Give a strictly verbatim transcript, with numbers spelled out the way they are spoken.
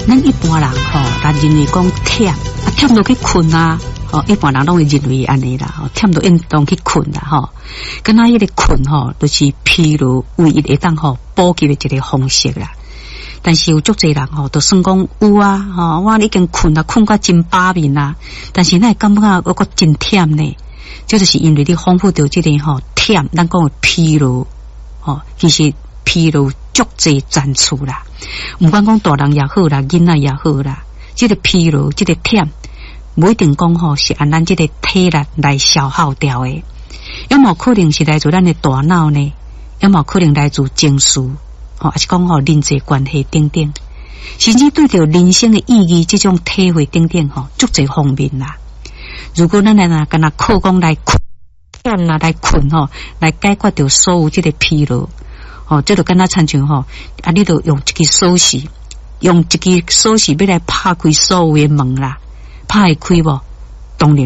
咱一般人吼，咱認為講忝，啊忝就去睏啊，吼，一般人攏會認為按呢啦，吼，忝就應當去睏啦，吼。敢若彼個睏吼，就是疲勞唯一會當吼補給的一個方式啦。但是有足濟人吼，都算講有啊，吼，我已經睏啊，睏甲真飽眠啊，但是哪會感覺猶閣真忝呢？這就是因為你豐富著這個吼忝，咱講的疲勞，吼，其實疲勞足濟層次啦。毋管講大人也好啦，囡仔也好啦，這個疲勞，這個忝，無一定講吼是按咱這個體力來消耗掉的，有無可能是來自咱的大腦呢？有無可能來自情緒？吼，抑是講吼人際關係等等，甚至對著人生的意義這種體會等等吼，足濟方面啦。如果咱來若敢若靠講來睏啊來睏吼，來解決著所有這個疲勞，吼，這就敢若親像吼，啊，你著用一支鎖匙，用一支鎖匙欲來拍開所有的門啦，拍會開無？當然。